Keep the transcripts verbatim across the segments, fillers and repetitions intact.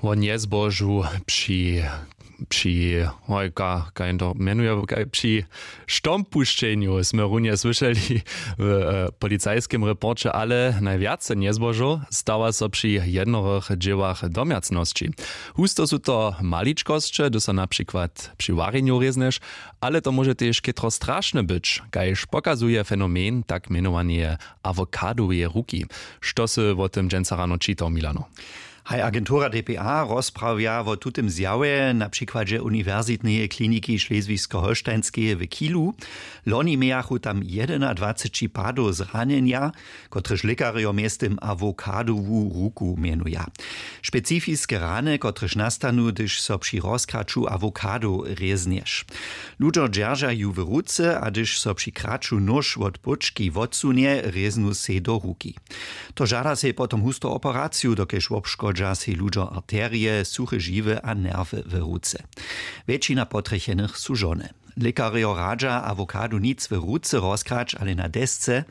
Wo njezbožu při při hoj ka kaj to mjenuje kaj při štompušćenju smy runje słyšeli w e, policajskim reporće, ale najwjace njezbožow stawa so při jednorych dźěłach domjacnosći. Husto su to maličkosće, hdyž so na přikład při warjenju rěznješ, ale to móže tež chětro strašne być, kaž pokazuje fenomen tak mjenowaneje awokadoweje ruki. Što sy wo tym dźensa rano čitał, Milano? Haj, agentura D P A rozprawja wo tutym zjawje na přikładźe uniwersitneje kliniki šleswisko-holštajnskeje w Kilu. Loni mějachu tam jedynadwaceći padow zranjenja, kotrež lěkarjo mjeztym awokadowu ruku mjenuja. Specifiske rany, kotrež nastanu, hdyž so při rozkraću awokadow rěznješ. Ludźo dźerža ju w ruce, a hdyž so při kraću nóž wot póčki wotsunje, rěznu sej do ruki. To žada sej potom hustu operaciju, dokelž wobškodźa sej ludźo arterije, suche žiwy a nerwy w ruce. Wjetšina potrjechenych su žony. Lěkarjo radźa awokadu nic w ruce rozkrać, ale na desce,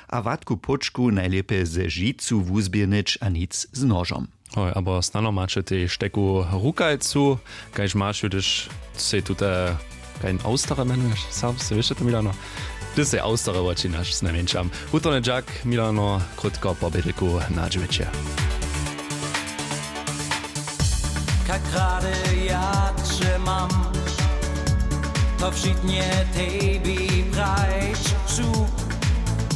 a watku póčku najlěpje ze žicu wuzběhnyć a nic z nožom. Hoj, abo snano maće tež teku rukajcu, kaž maš ju, hdyž sej tute kajn austere mjenuješ, sam se wěše to, Milano? Ty sej austere wočinaš znajmjeńšam. Wutorny dźak, Milano, krótko po bědlku na dźěwjeće. Kak rady ja će mam, to wšitnje tebi prajć su.